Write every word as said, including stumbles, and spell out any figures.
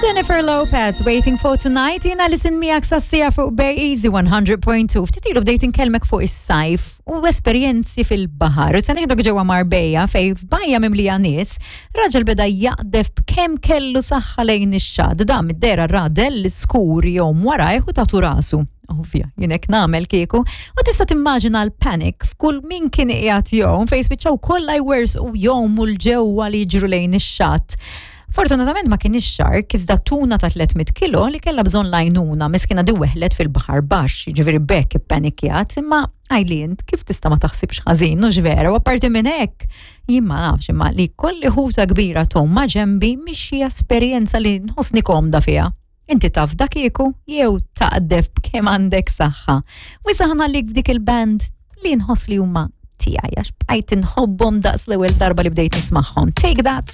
Jennifer Lopez, Waiting for Tonight, jiena Alison miegħek sas-siegħa fuq Bay Easy one hundred point two. Ftit ilu bdejt inkellmek fuq is-sajf u esperjenzi fil-baħar. U se nieħdok ġewwa Marbella, fejn f'bajja mimlija nies, raġel beda jaqdef b'kemm kellu saħħa lejn ix-xatt. Da mid-dera ra dell skur jgħum warajh u tatu rasu. Ovvja, jien hekk nagħmel kieku. U tista' timmaġina l-panic f'kull min kien qiegħed jgħum, fejn spiċċaw kollha jwerżqu jgħumu 'l ġewwa li jiġru lejn ix-xatt. Fortunatament ma kienx shark, iżda tuna ta' tliet mitt kilo li kellha bżonn l-għajnuna. Miskina di weħlet fil-baħar baxx, ġifieri bekk ippanikjat, imma għajli kif tista' ma taħsibx ħażin, hux vera? U apparti minn hekk, jien ma nafx, imma li kelli ħuta kbira tgħum ma' ġenbi mhix xi esperjenza li nħossni komda fiha. Inti taf dak kieku jew taqdef b'kemm għandek saħħa? U issa ħa nħallik b'dik il-band li nħoss li huma tiegħi għax bqajt inħobbhom daqs l-ewwel darba li bdejt nismagħhom. Take That.